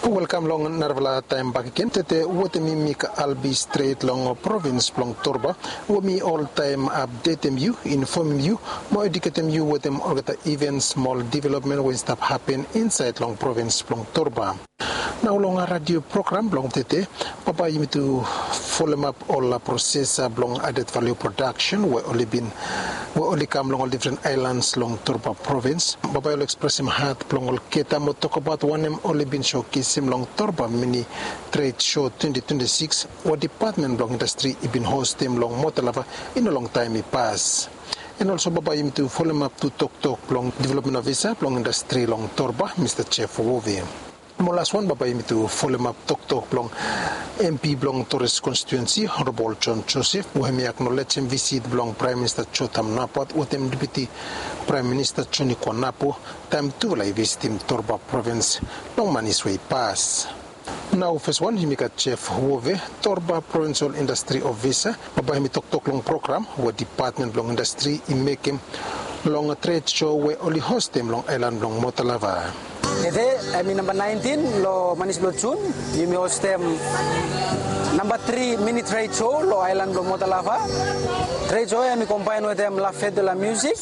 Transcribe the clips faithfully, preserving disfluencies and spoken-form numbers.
Welkam long narafala taem bakegen. Tede wetem mi, mi Albi, stret long provins blong Torba, we mi oltaem apdetem yu, infomem yu mo eduketem yu wetem olgeta ivens mo ol developmen we i stap hapen insaed long provins blong Torba. Nao long radio program blong tede, bambae yumi tu folemap ol proses blong added value production we oli bin, we oli kam long ol difren aelans long Torba provins. Bambae oli ekspresem hat blong olgeta mo tokbaot wanem oli bin sokesim long Torba Mini Trade Show twenti twenti sikis we Depatmen blong Indastri i bin hostem long Mota Lava i no longtaem i pas. An olso bambae yumi tu folemap tu toktok blong Developmen Ofisa blong Indastri long Torba, Mista Jeff Wove. Mo laswan, bambae yumi tu folemap toktok blong MP blong Torres Konstituensi, Honorabol John Joseph, we hemi aknolejem visit blong Praem Minista Jotham Napat wetem Deputi Praem Minista Joni Kuanapu, taem tufala i visitim Torba provins long manis we i pas. Nao feswan yumi gat Jeff Wove, Torba Provinsol Indastri Ofisa, bambae hemi toktok long program we Depatmen blong Indastri i mekem long tred show we oli hostem long aelan blong Mota Lava. Tede hemi namba naentin long manis blong Jun, yumi hostem namba tri Mini Tred Show long aelan blong Mota Lava. Tred show ya hemi kombaen wetem La Fête de la Musique.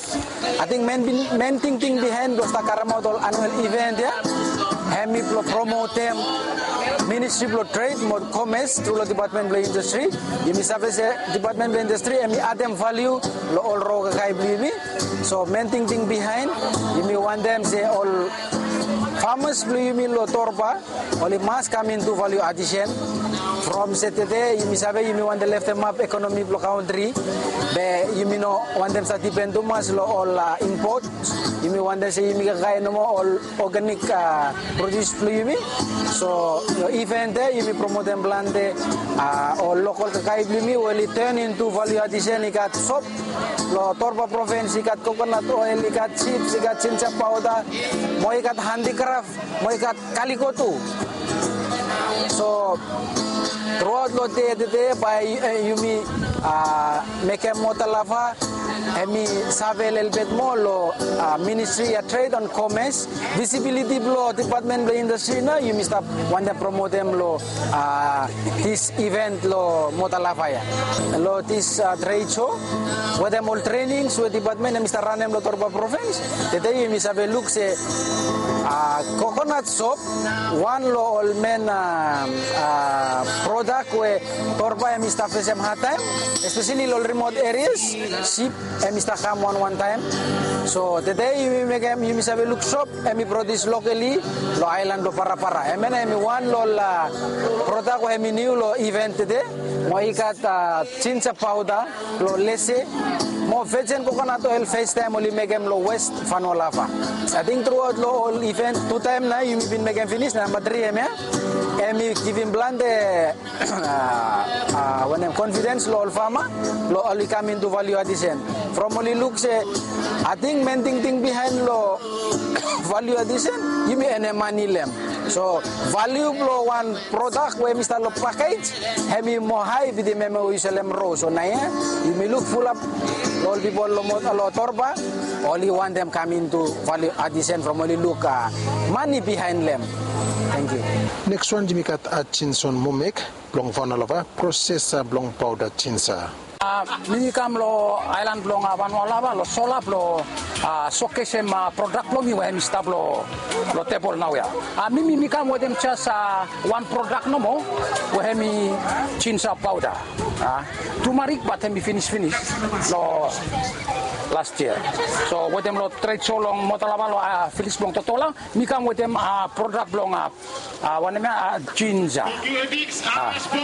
Ating men, men tingting bihaen blong stap karemaot ol anuel iven ya, hemi blong promotem Ministri blong Tred mo Komes tru long Depatmen blong Indastri. Yumi save se Depatmen blong Indastri hemi adem valiu long ol rokakae blong yumi. So men tingting bihaen, yumi wantem se ol famas blong yumi long Torba oli mas kam intu valiu adisen. From se tede yumi save yumi wantem leftemap ekonomi blong kantri, be yumi no wantem stap dipen tumas long ol impot. Yumi wantem se yumi kakae nomo ol oganik produs blong yumi. So long iven ya yumi promotem plante ol lokol kakae blong yumi we oli ten intu valiu adisen. I gat sop long Torba provins, i gat kokonat oel, i gat jips, i gat jinja paoda, mo i gat handikraf, mo i gat kaliko tu. So truaot long dei tede bae yumi mekem Mota Lava hemi save lelebet moa long ministri ya, tred an komes. Visibiliti blong Depatmen blong Indastri nao yumi stap wantem promotem long dis iven long Mota Lava ya. Long dis tred show wetem ol trenings we Depatmen hemi stap ranem long Torba provins. Tede yumi save luk se kokonat sop, wan long ol men prodak we Torba hemi stap fesem hadtaem, espeseli long ol rimot erias. Sip hemi stap kam wanwan taem. So tede yumi mekem, yumi save luk sop hemi produs lokali long aelan blong Parapara. Hemia nao hemi wan long ol prodak we hemi niu long iven tede. Mo i gat jinja paoda blong Lese mo vejen kokonat oel, festaem oli mekem long West Fanua Lava. Ating truaot long ol iven tu taem nao yumi bin mekem finis, namba tri hemia. Hemi givim plante wanem, konfidens long ol fama blong oli kam intu valiu adisen. From oli luk se ating men tingting bihaen long valiu adisen, yumi enem mane long hem. So valiu blong wan prodak we hemi stap long pakej hemi moa hae bitim hem we yu selem ro. So naoia yumi luk fulap long ol pipol long Torba, oli wantem kam intu valiu adisen from oli luk mane bihaen long hem. Tangkiu. Neks wan yumi gat Jinson Momek blong Fanua Lava, prosesa blong paoda jinja. Mi mi kam long aelan blong Fanua Lava long sola blong sokesem prodak blong mi we hemi stap long tebol naoia. Mi mi mi kam wetem jes wan prodak nomo we hemi jinja paoda. Tumarik, bat hemi finis finis long las yia. So wetem long tred show long Mota Lava long viles blong Totola, mi kam wetem prodak blong wanem ya, jinja.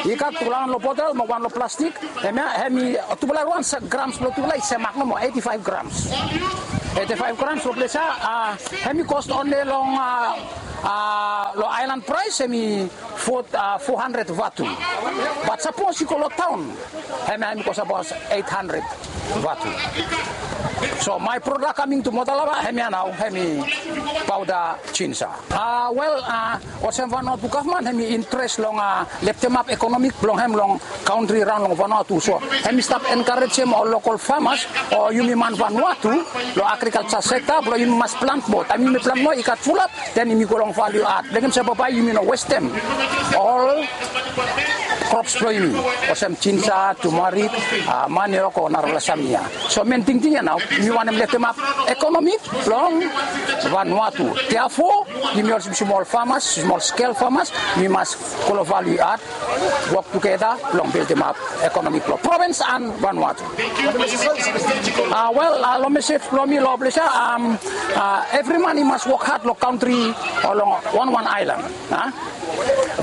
I gat tu laen long botel mo wan long plastik. Hemia hemi tufala wan grams blong tufala i semak nomo, eti faef grams. Eti faef grams long ples ya hemi kos onle long aelan praes hemi fo handred vatu. Bat sapos i go long taon, hemia hemi kos abaot eit handred vatu. So my product coming to Motalava, hemia nao, hemi powder ginger. A, wel, a, olsem Vanuatu gavman, hemi interes long, a, leftemap ekonomi blong hem long kantri raon long Vanuatu. So hemi stap enkarejem ol lokal famas o yumi man Vanuatu long agrikalja sekta blong yumi mas plant moa. Taem yumi plant moa i gat fulap, den yumi go long valiu ad. Blong hem se bambae yumi no westem ol krops blong yumi, olsem ginger, turmeric, a, manioc o narafala samting ia. So men tingting ia nao, yumi wantem leftemap ekonomi blong Vanuatu. Therefore, yumi olsem smol famas, smol skel famas, yumi mas go long valiu ad, wok tugeta blong bildimap ekonomi blong provins an Vanuatu. A, wel, a, long mesej blong mi long ples ia, am, a, evri man i mas wok had long kantri o long wanwan aelan, a?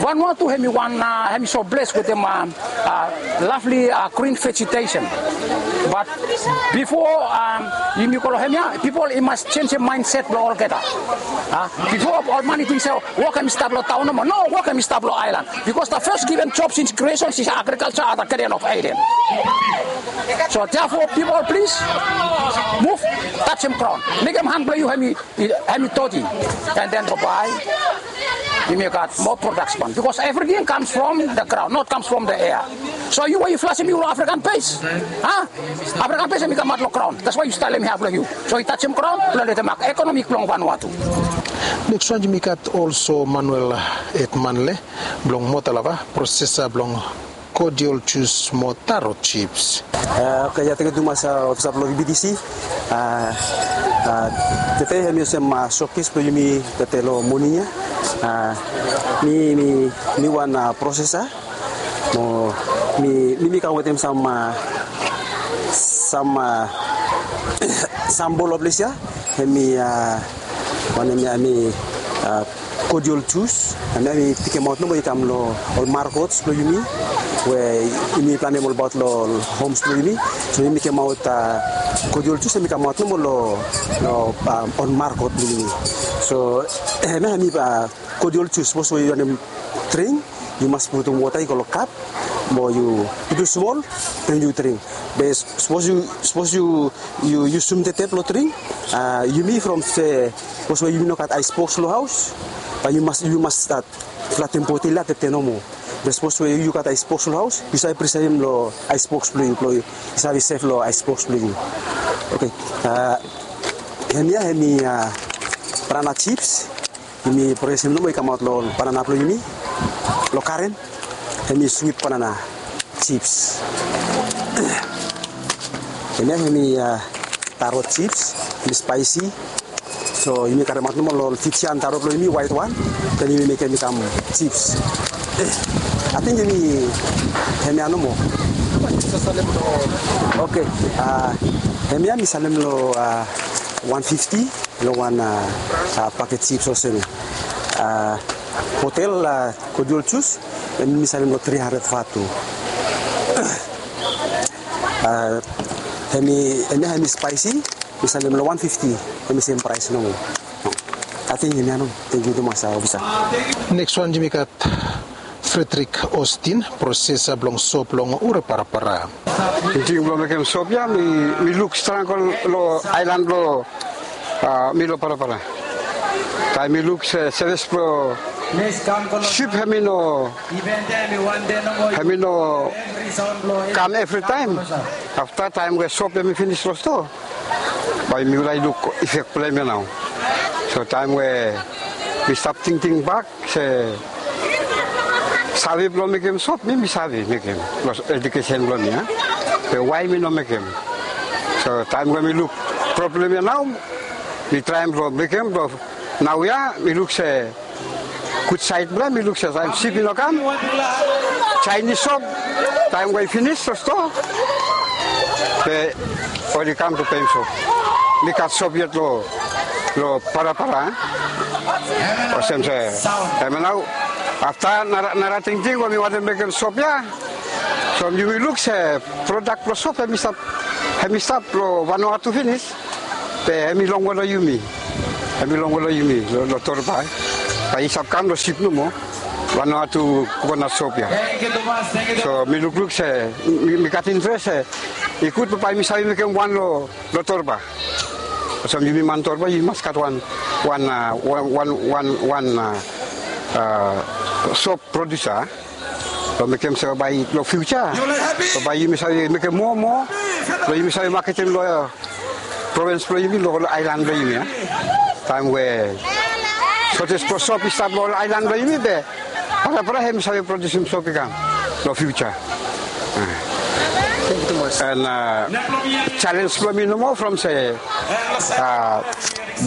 Vanuatu hemi wan, a, hemi so bles wetem, a, a, lovely, a, green vegetation. But bifo, am, yumi go long hemia, pipol i mas jenjem mindset blong olgeta. A, bifo ol man i ting se wok hemi stap long taon nomo. No, wok hemi stap long aelan. Because the first given job since creation is agriculture at the Garden of Eden. So therefore, people, please move, tajem graon. Mekem han blong yu hemi, hemi doti. And then bambae yumi gat moa production. Because everything comes from the ground, not comes from the air. So yu we yu flasem yu long African base, a? African base hemi kamaot long graon. That's why yu stap long hemia blong yu. So i tajem graon blong leftemap ekonomi blong Vanuatu. Next wan yumi gat also Manuel Edmanle blong Motalava, prosesa blong cordial juice mo taro chips. A, oke, ia, tangkiu tumas, a, ofisa blong V B T C. A, a, tede hemi olsem, a, showcase blong yumi tede long moning ia. A, mi, mi, mi wan, a, prosesa. Mo mi, mi, mi kam wetem sam, a, sam, a, sam bol long ples ia. Hemi, a, wanem ia, hemi, a, cordial juice. Hemia mi tekemaot nomo i kam long ol markets blong yumi we yumi planem olbaot long ol homes blong yumi. So yumi kemaot, a, cordial juice hemi kamaot nomo long, long, a, ol market blong yumi. So hemia hemi, a, cordial juice, sapos we yu wantem dring, yu mas putum wota i go long kap, mo yu putum smol, den yu dring. Be sapos yu, sapos yu, yu, yu yusum tede blong dring, a, yumi from se, sapos we yumi no gat ice box long haos, bae yu mas, yu mas stat flatem botel ia tede nomo. Be sapos we yu gat ice box long haos, yu save prisevem long ice box blong yu, blong yu save sef long ice box blong yu. Oke, a, hemia hemi, a, banana chips. Yumi prosesem nomo i kamaot long banana blong yumi long garen. Hemi sweet banana chips. Hemia hemi, a, taro chips, hemi spicy. So yumi karemaot nomo long Fijian taro blong yumi, white wan. Den yumi mekem i kam chips. Ating yumi, hemia nomo. Oke, a, hemia mi salem long, a, one fifty. Long wan, a, a, paket chips olsem ia. A, hotel, a, cordial juice, hemi mi salem long three hundred vatu. A, hemi, hemia hemi spicy, mi salem long one fifty, hemi sem praes nomo. Ating hemia nomo. Tangkiu tumas, a, ofisa. Next wan yumi gat Frederick Austin, prosesa blong sop long Ure Parapara. Tingting blong mekem sop ia, mi, mi luk stragol long aelan blong, a, mi long Parapara. Taem mi luk se, sevis blong sip hemi no, hemi no kam evritaem. Afta taem we sop hemi finis long stoa, bae mifala i luk ifek blong hem ia nao. So taem we mi stap tingting bak se save blong mekem sop, mi, mi save mekem long edukesen blong mi, a? Be wae mi no mekem? So taem we mi luk problem ia nao, mi traem blong mekem, blong naoia mi luk se gud saed blong hem, mi luk se taem sip i no kam, Chinese sop, taem we i finis long stoa, be oli kam blong peim sop. Mi gat sop yet long, long Parapara, e? Olsem se, hemia nao, afta nara, nara tingting we mi wantem mekem sop ia. So yumi luk se prodak blong sop hemi stap, hemi stap long Vanuatu finis. Be hemi longwe long yumi. Hemi longwe long yumi, long, long Torba. Bae i stap kam long sip nomo. Vanuatu kokonat sop ia. So mi lukluk se, mi, mi gat interes se i gud bambae yumi save mekem wan long Torba. Olsem yumi man Torba yumi mas gat wan wan wan wan wan wan sop produsa. Long mekem se bae long fiuja bae yumi save mekem moa moa, long yumi save maketem long provins blong yumi, long ol aelan blong yumi. Taem we sotes blong sop i stap long ol aelan blong yumi be brabra hem i save produsim sop i kam long fiuja. An jalenj blong mi nomo from se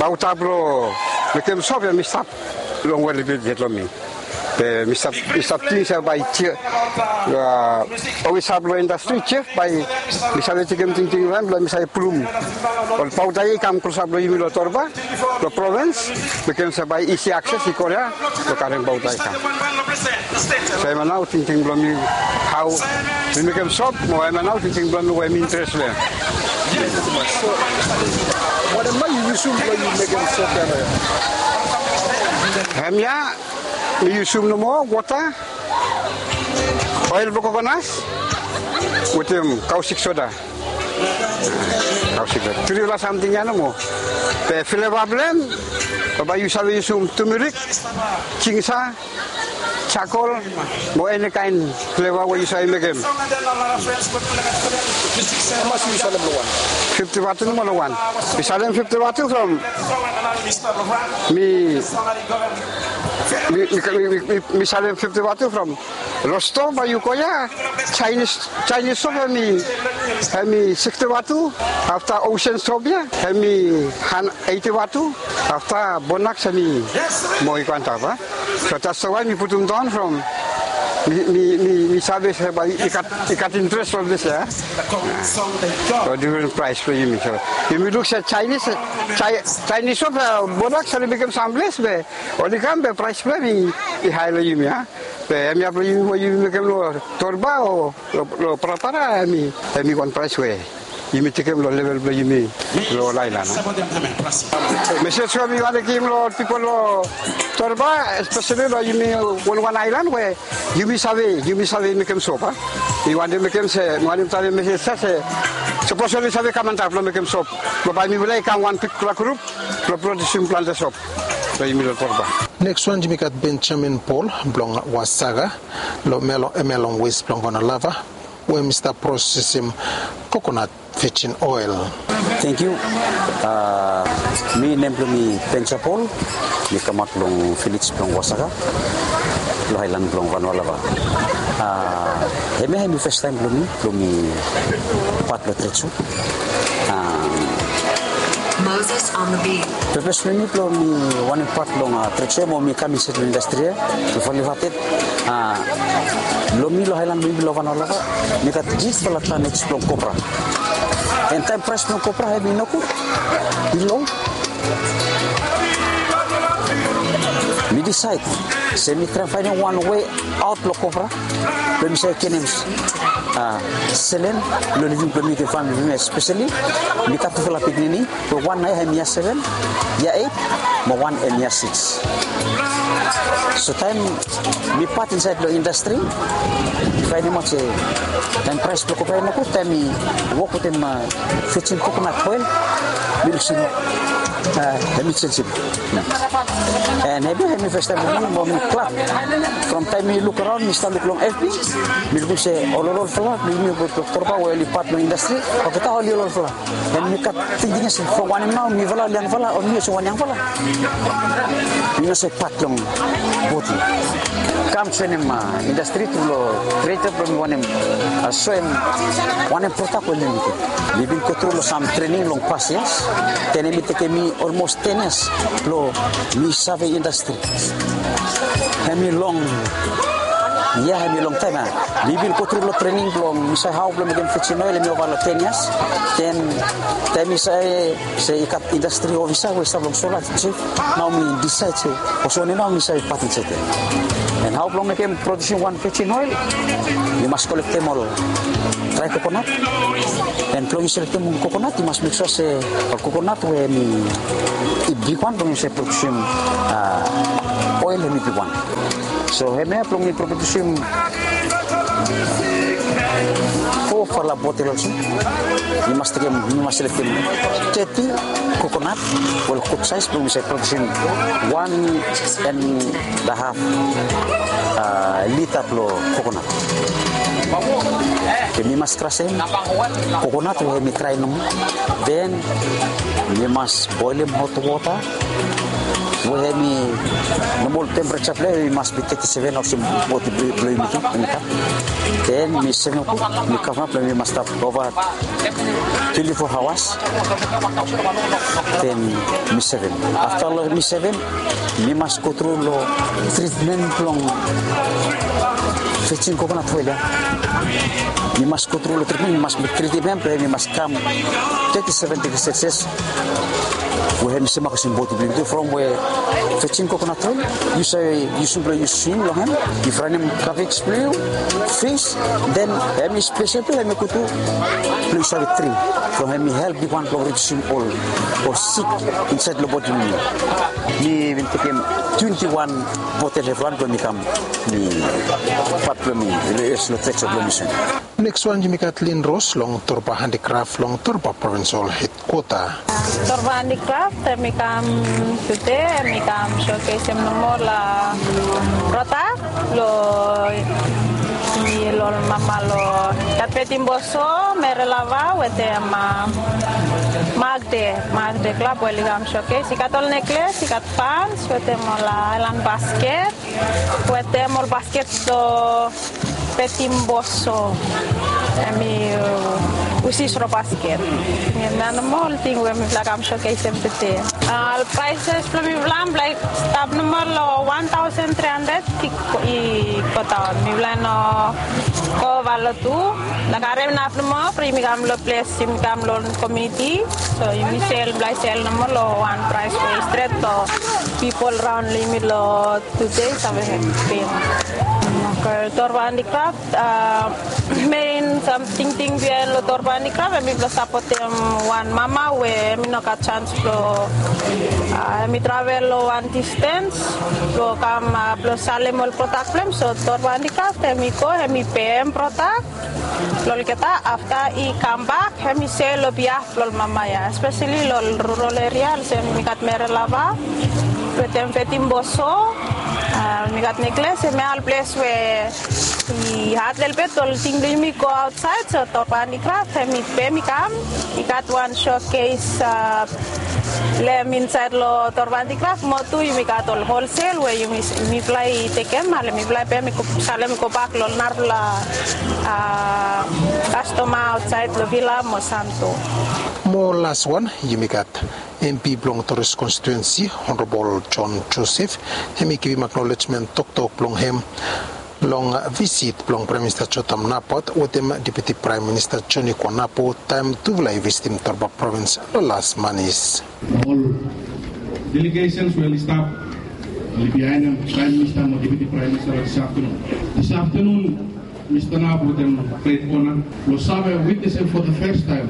bauta blong mekem sop hem i stap longwe lelebet yet long mi. Be mi stap ting se bae jef, olgeta blong indastri jef bae mi save tekem tingting long hem blong mi save pulum ol bauta ya i kam klosap long yumi long Torba, long provins, mekem se bae isi akses i go ya blong karem bauta i kam. So hemia nao tingting blong mi, hao mi mekem sop mo hemia nao tingting blong mi we mi interes long hem. Wanem nao yu yusum blong yu mekem sop ya nao ya? Hemia mi yusum nomo wota, oel blong kokonat wetem kaosik soda. Kaosik soda, tripela samting ya nomo. Be fleva blong hem, bambae yu save yusum tumerik, jinja, jakol, mo eni kaen fleva we yu save mekem. Hamas yu salem long wan? Fifti vatu nomo long wan. Mi salem fifti vatu from mi mi mi mi mi mi salem fifti vatu from Rosto bae yu go ya. Jaenis, Jaenis sop hem i hem i siksti vatu. Afta Osen sop ya hem i han eiti vatu. Afta Bonaks hem i mo i go antap a. So that's why mi putum daon from mi mi mi mi save se bae i gat i gat interes long dis ya. Long difren praes blong yumi so yumi luk se Jaenis Jaenis sop Bonaks oli mekem samples be oli kam be praes blong hem i hae long yumi a. Be hemia blong yumi we yumi mekem long Torba o long Parapara hem i wan praes we yumi tekem long level blong yumi long ol aelan. Mesej we mi wantem givim long ol pipol long Torba, espeseli long yumi wanwan aelan we yumi save yumi save mekem sop a. Mi wantem mekem se mi wantem talem mesej ya se sapos oli save kam antap long mekem sop, bambae mifala i kam wan bigfala grup blong produsim plante sop. Neks wan yumi gat Benjamin Paul blong Wasaga long hemia long wes blong Vanua Lava we mi stap prosesim kokonat vejin oel. Tengkiu. Mi nem blong mi Benja Paul. Mi kamaot long vilej blong Wasaga long aelan blong Vanua Lava. Hemia hemi fastaem blong mi blong mi pat long trade show. Moses on the beat. Pepes blong mi blong mi wanem pat long trade show mo mi kam insaed long indastri ya. Long Valley Hearted long mi long aelan blong mi long Vanua Lava mi gat jifala tanets blong kopra. An taem praes blong kopra hemi nogud, i lo. Mi disaed se mi traem faenem wan wei aot blong kopra blong mi save genem selen blong living blong mi wetem famili blong mi, espeseli mi gat tufala pikinini we wan nao ya hem yia seven, yia eit, mo wan hem yia sikis. So taem mi pat insaed long indastri, mi faenemaot se taem praes blong kopra i nogud, taem mi wok wetem vejin kokonat oel, mi luk se hemi jenjem. An hemi hemi fastaem blong mi mo mi glad. From taem mi luk araon, mi stap luk long F B, mi lukim se ol olfala blong yumi we long Torba we oli pat long indastri, olgeta oli olfala. An mi gat tingting ya se from wanem nao mifala ol yangfala o mi olsem wan yangfala, mi no save pat long boti. Kam joenem indastri tru long trade blong mi wanem, soem wanem prodak we mi mekem. Mi bin gotru long sam trening long pas yias, den hemi tekem mi olmos ten yias blong mi save indastri. Hemi long, ya hemi longtaem ya. Mi bin gotru long trening blong mi save hao blong mekem vejin oel, hemi ova long ten yias. Den taem mi save se i gat indastri ofisa we i stap long Sola, jef, nao mi disaed se olsem wanem nao mi save pat insaed ya. An hao blong mekem produsim wan vejin oel, yu mas kolektem ol drae kokonat. An blong yu selektem ol kokonat yu mas mek sua se ol kokonat we hemi bigwan blong yu save produsim oel hemi bigwan. So hemia blong mi produsim Fo falala botel olsem, mi mas tekem, mi mas seletem teti kokonat, we ol gud saes blong mi save produsim wan and a haf lita blong kokonat. Be mi mas krasem kokonat we hemi drae nomo. Den mi mas boelem hot wota we hemi nomol tempereja blong hem i mas bi teti seven olsem bodi blong yumi tu. Den mi sevem, mi kavap blong mi mas stap ova twenti fo aoas. Den mi sevem. Afta long mi sevem, mi mas go tru long tritmen blong vejin kokonat oel ya. Mi mas go tru long tritmen, mi mas tretim hem blong hem i mas kam teti seven degri Celsius. We hem i semak olsem bodi blong yu tu from we vejin kokonat oel yu save yusum blong yu swim long hem, yu fraenem kavej blong yu, fis, den hem i spesel blong hem i gud tu blong yu save dring. From hem i help yu wan blong ridiusim ol ol sik insaed long bodi blong yu. Mi bin tekem twenti wan botel evriwan blong mi kam mi pat blong mi long tret blong mi sun. Neks wan yumi gat Lin Ros long Torba Handikraf long Torba Provinsol Hedkwota. Torba Handikraf, hemi kam tude, hemi kam showcasem nomo ol prodak long, long mama long gat Fetim Boso, Mere Lava wetem Magde, Magde Klab we oli kam showcase. I gat ol nekles, i gat pans wetem ol aelan basket wetem ol basket long Fetim Boso. Hemi usis long basket. Hemia nomo ol ting we mifala kam showcasem tude. Ol praeses blong mifala mifala i stap nomo long wan taosen tri handred i godaon. Mifala i no go ova long tu. Mifala karem inap nomo from yumi kam long ples, yumi kam long komuniti. So yumi sel, mifala i sel nomo long wan praes we i stret long pipol raon long yumi long tude save pem. Oke, Torba Handikraf, mein samting, tingting biaen long Torba Handikraf hemi blong sapotem wan mama we hemi no gat jans blong, hemi travel long wan distens blong kam blong salem ol prodak blong hem. So Torba Handikraf hemi go, hemi pem prodak blong olgeta, afta i kambak hemi sel long biaf blong ol mama ya, espeseli long ol rural eria olsem mi gat Mere Lava wetem Fetim Boso, mi gat nekles, hemia ol ples we i had lelebet ol ting blong yumi go aotsaed. So Torba Handikraf hemi pem, i kam, i gat wan showcase long hem insaed long Torba Handikraf. Mo tu yumi gat ol holsel we yumi, mifala i tekem, ale mifala i pem i go, salem i gobak long narafala kastoma aotsaed long Vila mo Santo. Mo las wan yumi gat MP blong Torres konstituensi, Honorabol John Joseph, hemi givim aknolejmen toktok blong hem long visit blong Praem Minista Jotam Napat wetem Deputi Praem Minista Joni Kuanapo taem tufala i visitim Torba Provins long las manis. Ol delegesens we oli stap, oli bihaenem Praem Minista mo Deputi Praem Minista long dis aftenun. Dis aftenun mi stanap wetem gret ona blong save witnesem for the first time.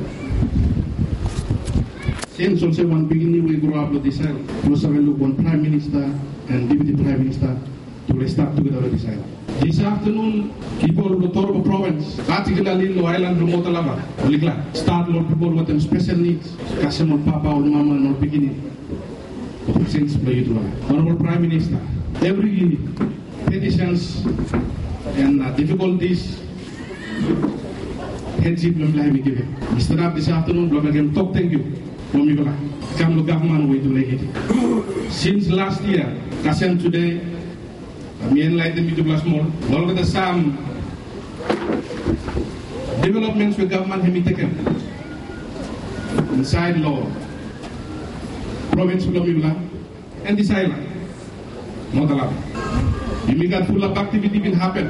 Sins olsem wan pikinini we i groap long dis sel, blong save luk wan Praem Minista and Deputi Praem Minista tufala i stap tugeta long dis sel. Dis aftenun, pipol blong Torba Provins, patikularli long aelan blong Motalava, oli glad. Stat long ol pipol wetem spesel nids, kasem ol papa, ol mama, and ol pikinini. Ol sins blong yutufala. Honorabol Praem Minista, evri petisens and difikoltis, hedsip blong mifala hemi givim. Mi stanap dis aftenun blong mekem tok tangkiu long mifala i kam long gavman we yutufala i givim. Sins las yia kasem tude, mi enlaetenem yutufala smol long olgeta sam developmens we gavman hemi tekem insaed long provins blong mifala. And dis aelan Motalava, yumi gat fulap aktiviti bin hapen.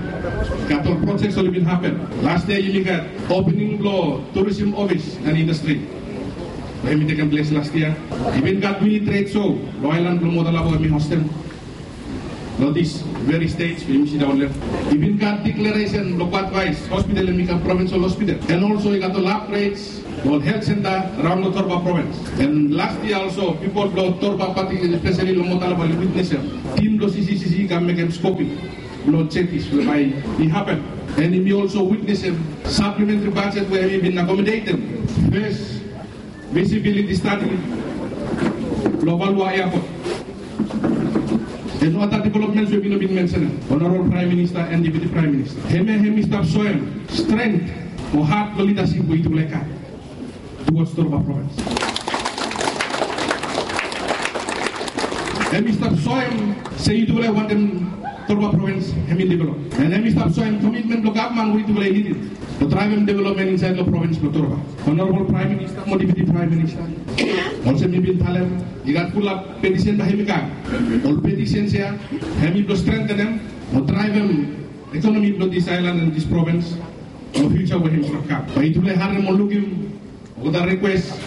Gat ol projek oli bin hapen. Las yia yumi gat opening blong tourism ofis and indastri we hemi tekem ples las yia. I bin gat mini tred show long aelan blong Motalava we mi hostem long dis veri stej we yumi sidaon long hem. I bin gat deklaresen blong Bad Vice Hospital hemi kam provinsol hospital, and olso i gat ol upgrades long ol helt senta raon long Torba Provins. And las yia olso pipol blong Torba, patikula espeseli long Motalava, oli witnesem tim blong CCCC i kam mekem skoping blong jetis we bae i hapen And yumi olso witnesem saplementri bajet we hemi bin akomodetem fes visibiliti stadi blong Valuvalu Airport. And other developments we mi no bin mensenem, Honorable Prime Minister and Deputy Prime Minister. Hemia hemi stap soem strength o hat blong lidasip we yutufala i gat towards Torba Province. Hemi stap soem se yutufala i wantem Torba Province hemi develop. And hemi stap soem komitmen blong gavman we yutufala i lidim blong draevem developmen insaed long provins blong Torba. Honorable Prime Minister mo Deputy Prime Minister, olsem mi bin talem, i gat fulap petisen bae hemi kam. Ol petisen ia hemi blong strengthenem mo draevem ekonomi blong dis aelan and dis provins long fiuja we hemi stap kam. Bae yutufala i harem mo lukim olgeta request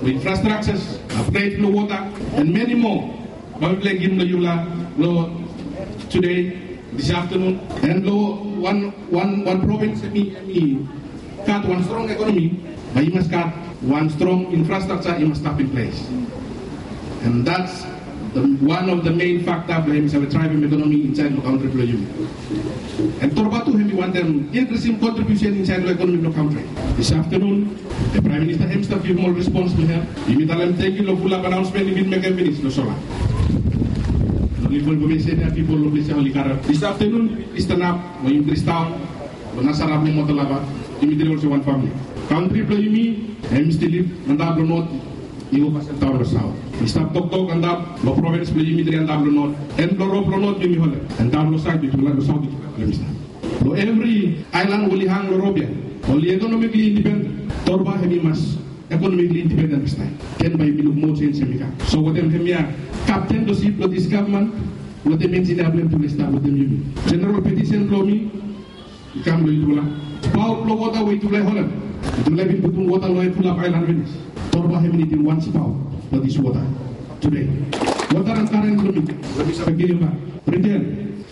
blong infrastructures, upgrade blong wota, and many more bae mifala i givim long yufala long today, this afternoon. And long wan, wan, wan provins hemi, hemi gat wan strong ekonomi, bae i mas gat wan strong infrastructure i mas stap in place. And that's the, one of the main factor blong hemi save draevem ekonomi insaed long kantri blong yumi. And Torba tu hemi wantem inkrisim kontribiusen insaed long ekonomi blong kantri. This afternoon, the Prime Minister hemi stap givim ol respons blong hem. Yumi talem tangkiu long fulap anaonsmen i bin mekem finis long sola. Long info, infomesen ia pipol long ples ia oli karem. This afternoon, yumi stanap mo yumi dristaon long Nasara blong Motalava, yumi tri olsem wan famili. Kantri blong yumi hemi stil lif antap long not i go fastaon long saot. I stap toktok antap long provins blong yumi tri antap long not, and long rop blong not yumi holem, antap long saot yutufala, long saot yutufala holem i stap. Long evri aelan we oli hang long rop ia, oli ekonomikli indipenden. Torba hemi mas ekonomikli indipenden fastaem. Den bae yumi luk moa jenis hemi kam. So wetem hemia kapten blong sip blong dis gavman, wetem enjinia blong hem, yutufala i stap wetem yumi. Jeneral petisen blong mi i kam long yutufala. Spaot blong wota we yutufala i holem, yutufala i bin putum wota long hem fulap aelan finis. Torba hemi nidim wan spaot blong dis wota today. Wota and karen blong mi, blong mi save givim bak, riten,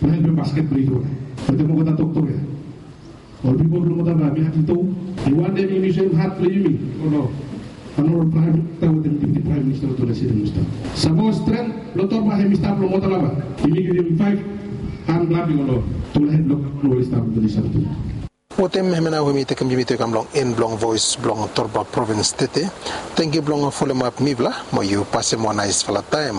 blong helpem basket blong yutufala. Wetem olgeta toktok ia, ol pipol blong Motalava, mi hat i tok, mi wantem yumi soem hat blong yumi. O no. Honorable Prime Minister wetem Deputy Prime Minister, yutufala i sidaon long stap. Sapos strength blong Torba hemi stap long Motalava, yumi givim faef han klap i go long tufala hed blong gavman we oli stap long dis aftanun. Wetem hemia nao we mi tekem yumi tu i kam long en blong Voes blong Torba Provins tede. Tangkiu blong folem ap mifala, mo yu pasem wan naesfala taem.